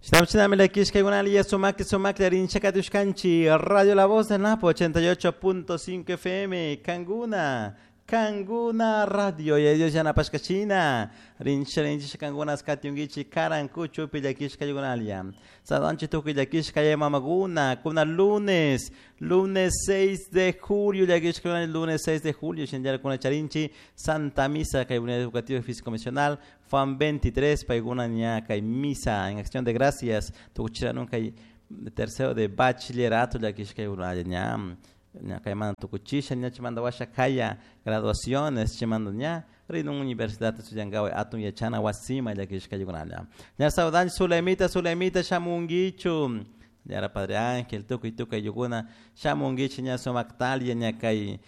Shinami llakishkaykunalla sumakli sumakli rinchakatushkanchik Radio La Voz del Napo 88.5 FM Kanguna Kanguna Radio ya Dios yanapashkachina rincha rincha kangunas katyunkichik karankuchupi llakishkaykunalla saludanchik tukuy llakishka mamakuna kuna lunes lunes 6 de julio llakishkaykunalla lunes 6 de julio shinallara charinchik Santa Misa kay Unidad Educativa Físico Misional Juan 23 paykuna ña kay misa en acción de gracias tukuchiranun kay tercero de bachillerato llakishkaykunalla ña ña kaymanta tukuchisha ña chaymanta washa kaya graduaciones chaymanta ña rinun universidad estudiankawa atun yachana wasima llakishkaykunalla ña saludanchik Zulemita Zulemita shamunkichu ñara Padre Ángel tukuy tukuy ayllukuna shamunkichik ña sumaktalia ña kay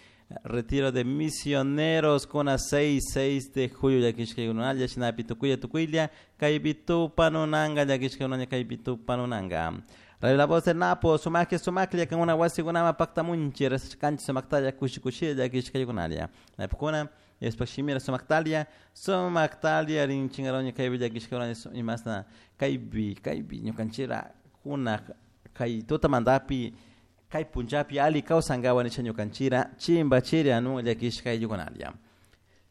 retiro de misioneros kuna 6 6 de julio llakishkaykunalla shinapi tukuylla tukuylla kaypi tupanunanka llakishkaykunalla kaypi tupanunanka Radio La Voz del Napo, sumakli sumakli kankuna wasikunaman paktamunchik rezashkanchik sumaktalla kushi kushilla llakishkaykunalla napukuna Diospuk shimira sumaktalia sumaktalia rinchinkaroña kaypi llakishkaykunalla imasna kaypi kaypi ñukanchikra kunak kay tutamantapi kay punllapi alli kawsankawa nisha ñukanchikra chimbachiri anun llakishkaykunalla.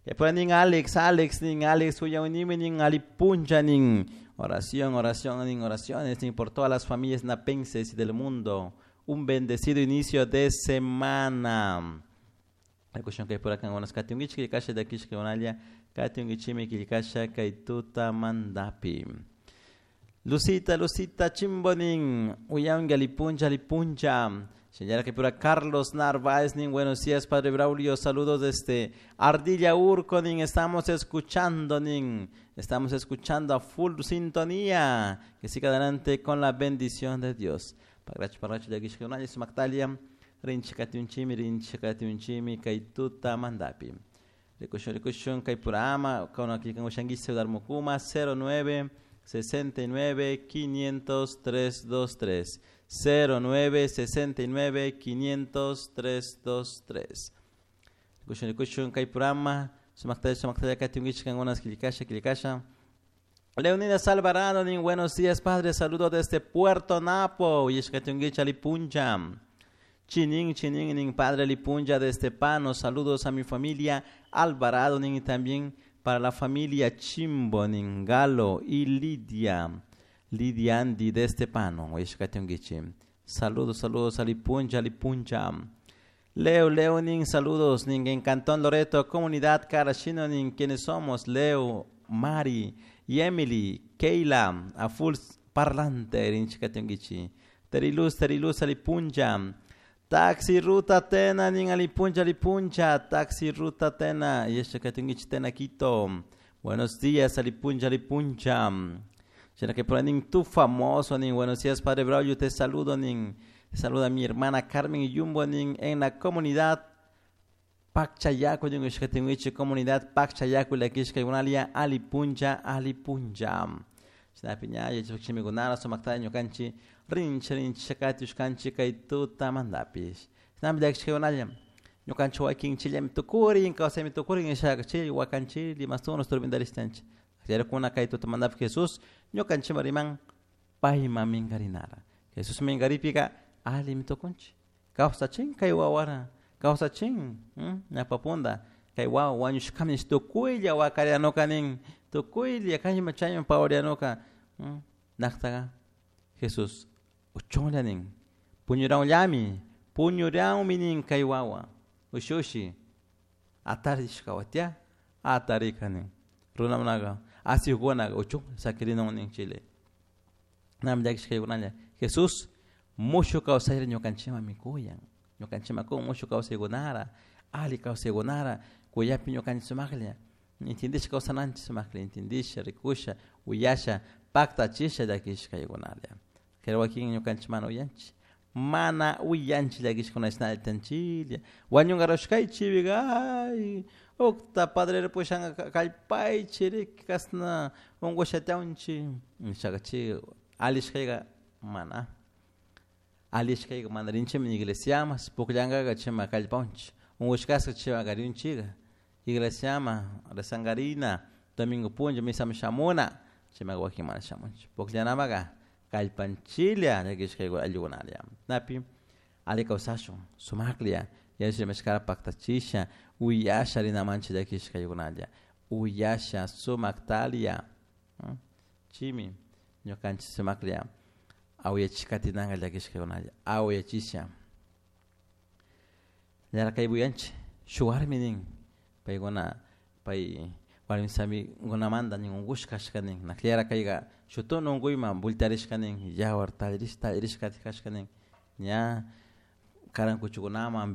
Kaypura nin Alex, Alex nin Alex uyawnimi nin alli punlla nin oración, oración nin oraciones nin por todas las familias napenses y del mundo. Un bendecido inicio de semana. Rikushun kaypura kankunas katyunkichik killkasha llakishkaykunalla katyunkichikmi killkasha kay tutamantapi. Lucita, Lucita Chimbo nin uyanki alli punlla, alli punlla. Señora que pura Carlos Narváez nin buenos días Padre Braulio, saludos desde Ardilla Urco nin estamos escuchando nin estamos escuchando a full sintonía. Que siga adelante con la bendición de Dios. Pagracho pagracho llakishkaykunalla sumaktalia rinchik katiunchimi rinchik katiunchimi kay tutamantapi. Rikushun rikushun kay pura ama kuna killkankushankichik celular mukuma 09 69 500 323 09 69 500 323 Rikushun rikushun kay purama sumaktalla sumaktalla katiunkichik kankunas killkasha killkasha. Leonidas Alvarado nin buenos días padre, saludo desde Puerto Napo yeshkatiunkichik alipuncha. Chinin chinin nin padre alipuncha desde Pano, saludos a mi familia Alvarado nin y también para la familia Chimbo nin Galo y Lidia Lidia Andy desde Pano yeshkatiunkichik. Saludos, saludos alipuncha alipuncha. Leo, Leo nin saludos nin en Cantón Loreto, comunidad Carachino nin quienes somos Leo, Mari y Emily, Keila, a full parlante rinchikatiunkichik. Teriluz, Teriluz alipuncha. Taxi Ruta Tena nin alipuncha alipuncha, Taxi Ruta Tena yeshkatiunkichik Tena Quito. Buenos días alipuncha alipuncha. Sina que por nin tu famoso nin buenos días Padre Braulio, te saludo nin te saluda mi hermana Carmen Yumbo nin en la comunidad Pacchayaco nin yeshkatiunkichik comunidad Pacchayaco llakishkaykunalia alipuncha alipuncha. Shinapi ña yachachikmikunara sumaktalla ñukanchik rincha rincha katiushkanchik kay tutamantapish. Shinami llakishkaykunalla ñukanchik wakinchillami tukurin kawsaymi tukurin nishaka chay wakanchik limastunos turbindarishtanchik. Kuna kay tutamantapi Jesús ñukanchikman riman payman minkarinara. Jesús minkaripika allimi tukunchik. Kawsachin kay wawara, kawsachin ñawpa kay wawa wañushkami nish tukuylla wakarianuka nin tukuylla kayman chayman pawarianuka naktaka Jesús uchunlla nin puñuranllami puñuranmi nin kay wawa ushushi atarishka watia atarika nin runakunaka asikukunaka uchunlla sakirinun nin chile. Nami llakishkaykunalla Jesús mushuk kawsayta ñukanchikman mikuyan ñukanchikman kun mushuk kawsaykunara alli kawsaykunara kuyapi ñukanchik sumaklla intindisha kawsananchik sumaklla intindisha rikusha uyasha paktachisha llakishkaykunalla. Pero wakin ñukanchik mana uyanchik mana uyanchik llakishkuna tanchilla wañunkarushkaychik ay ukta padre pushanka kallpaychik riki kasna unkushatyawunchik nishaka chay allishkayka mana allishkayka mana rinchikmi iglesiaman pukllankaka chayman kallpawanchik unkushkashka chayman rinchika iglesiaman rezankarina domingo punlla misaman shamuna chaymanka wakin mana shamunchik pukllanamaka. Kallpanchilla llakishka ayllukunalla. Napi alli kawsashun sumaklla yachimashkara paktachisha uyasha rinamanchik llakishka ayllukunalla uyasha sumaktalia chimi ñukanchik sumaklla awiyachishkatinanka llakishkakunalla awiyachisha ñara buyanchik shuk warmi nin paykuna pay warmi samikunamanta nin unkushka kashka nin nakllera kayka shuk tunu unkuyman voltearishka nin yawar tallirish tallirishka kashka nin ña karan kuchukunaman.